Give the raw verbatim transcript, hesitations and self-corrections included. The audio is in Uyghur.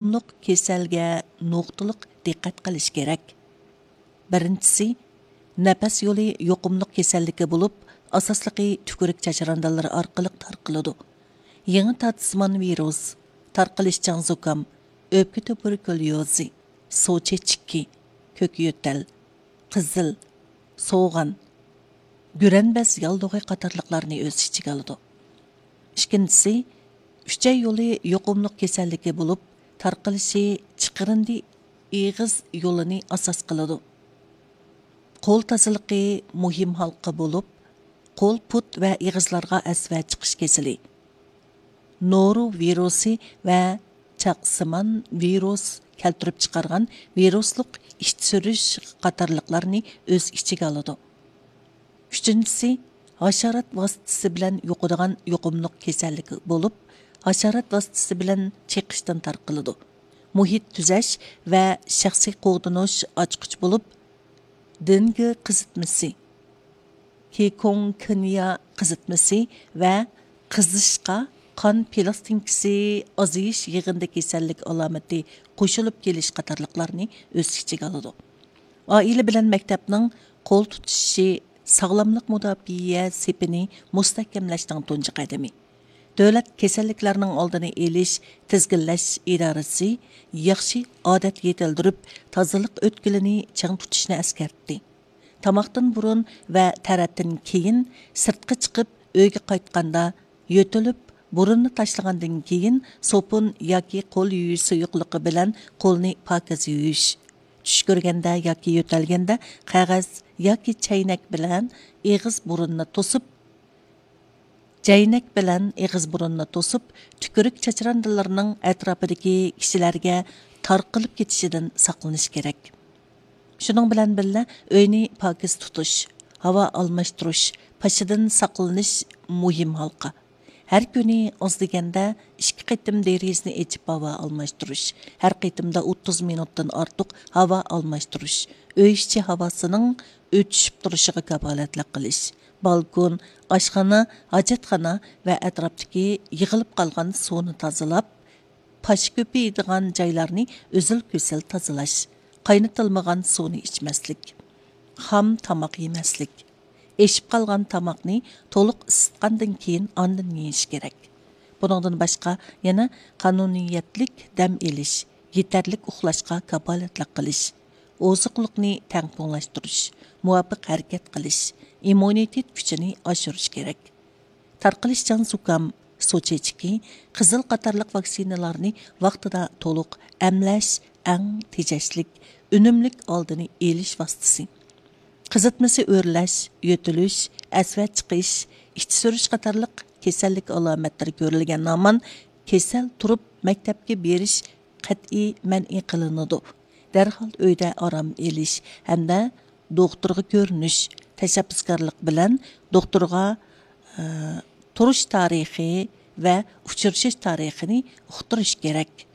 يۇقۇملۇق كېسەلگە نۇقتىلىق دىققەت قىلىش كېرەك. بىرىنچىسى، نەپەس يولى يۇقۇملۇق كېسەللىكى بولۇپ، ئاساسلىقى تۈكۈرۈك چاچراندىلىرى ئارقىلىق تارقىلىدۇ. يېڭى تارتىسىمان ۋىرۇس، تارقىلىشچان زۇكام، ئۆپكە تۇبېركۇليوزى، سۇ چېچىكى، كۆك يۆتەل، قىزىل، سوغان، گۈرەنبەز ياللۇغى قاتارلىقلارنى ئۆز ئىچىگە ئالىدۇ. ئىككىنچىسى، ئۈچەي يولى يۇقۇملۇق كېسەللىكى بولۇپ، تارقىلىشى چىقىرىندى ئېغىز يولىنى ئاساس قىلىدۇ. قول تازىلىقى مۇھىم ھالقا بولۇپ، قول، پۇت ۋە ئېغىزلارغا ئەسۋە چىقىش كېسىلى، نورۇ ۋىرۇسى ۋە چاقسىمان ۋىرۇس كەلتۈرۈپ چىقارغان ۋىرۇسلۇق ئىچ سۈرۈش قاتارلىقلارنى ئۆز ئىچىگە ئالىدۇ. ئۈچىنچىسى، ھاشارات ۋاسىتىسى بىلەن يۇقىدىغان يۇقۇملۇق كېسەللىك بولۇپ، ھاشارات ۋاسىتىسى بىلەن چېقىشتىن تارقىلىدۇ. مۇھىت تۈزەش ۋە شەخسىي قوغدىنىش ئاچقۇچ بولۇپ، دېنگى قىزىتمىسى، كىكۇڭكۇنيا قىزىتمىسى ۋە قىزىشقا، قان پىلاستىنكىسى ئازىيىش، يىغىندى كېسەللىك ئالامىتى قوشۇلۇپ كېلىش قاتارلىقلارنى ئۆز ئىچىگە ئالىدۇ. ئائىلە بىلەن مەكتەپنىڭ قول تۇتۇشۇشى ساغلاملىق مۇداپىئە سېپىنى مۇستەھكەملەشنىڭ تۇنجى قەدىمى. دۆلەت كېسەللىكلەرنىڭ ئالدىنى ئېلىش، تىزگىنلەش ئىدارىسى ياخشى ئادەت يېتىلدۈرۈپ، تازىلىق ئۆتكىلىنى چىڭ تۇتۇشنى ئەسكەرتتى. تاماقتىن بۇرۇن ۋە تەرەتتىن كېيىن، سىرتقا چىقىپ ئۆيگە قايتقاندا، يۆتىلىپ، بۇرۇننى تاشلىغاندىن كېيىن، سوپۇن ياكى قول يۇيۇش سۇيۇقلۇقى بىلەن قولنى پاكىز يۇيۇش. چۈش كۆرگەندە ياكى يۆتەلگەندە، قەغەز ياكى چەينەك بىلەن ئېغىز بۇرۇننى توسۇپ، چەينەك بىلەن ئېغىز بۇرۇننى توسۇپ، تۈكۈرۈك چاچراندىلىرىنىڭ ئەتراپىدىكى كىشىلەرگە تارقىلىپ كېتىشىدىن ساقلىنىش كېرەك. شۇنىڭ بىلەن بىللە، ئۆينى پاكىز تۇتۇش، ھاۋا ئالماشتۇرۇش، پاشىدىن ساقلىنىش مۇھىم ھالقا. ھەر كۈنى ئاز دېگەندە ئىككى قېتىم دېرىزىنى ئېچىپ ھاۋا ئالماشتۇرۇش، ھەر قېتىمدا ئوتتۇز مىنۇتتىن ئارتۇق ھاۋا ئالماشتۇرۇش، ئۆي ئىچى ھاۋاسىنىڭ ئۆتۈشۈپ تۇرۇشىغا كاپالەتلىك قىلىش، بالكون، ئاشخانا، ھاجەتخانا ۋە ئەتراپتىكى يىغىلىپ قالغان سۇنى تازىلاپ، پاش كۆپىيىدىغان جايلارنى ئۈزۈل-كېسىل تازىلاش، قاينىتىلمىغان سۇنى ئىچمەسلىك، خام تاماق يېمەسلىك، ئېشىپ قالغان تاماقنى تولۇق ئىسسىتقاندىن كېيىن ئاندىن يېيىش كېرەك. بۇنىڭدىن باشقا، يەنە قانۇنىيەتلىك دەم ئېلىش، يېتەرلىك ئۇخلاشقا كاپالەتلىك قىلىش، ئوزۇقلۇقنى تەڭپۇڭلاشتۇرۇش، مۇۋاپىق ھەرىكەت قىلىش، ئىممۇنىتېت كۈچىنى ئاشۇرۇش كېرەك. تارقىلىشچان زۇكام، سۇ چېچىكى، قىزىل قاتارلىق ۋاكسىنىلارنى ۋاقتىدا تولۇق ئەملەش ئەڭ تېجەشلىك، ئۈنۈملۈك ئالدىنى ئېلىش ۋاسىتىسى. قىزىتمىسى ئۆرلەش، يۆتىلىش، ئەسۋە چىقىش، ئىچ سۈرۈش قاتارلىق كېسەللىك ئالامەتلىرى كۆرۈلگەن ھامان كېسەل تۇرۇپ مەكتەپكە بېرىش قەتئىي مەنئى قىلىنىدۇ. دەرھال ئۆيدە ئارام ئېلىش ھەمدە دوختۇرغا كۆرۈنۈش، تەشەببۇسكارلىق بىلەن دوختۇرغا، ئە، تۇرۇش تارىخى ۋە ئۇچرىشىش تارىخىنى ئۇقتۇرۇش كېرەك.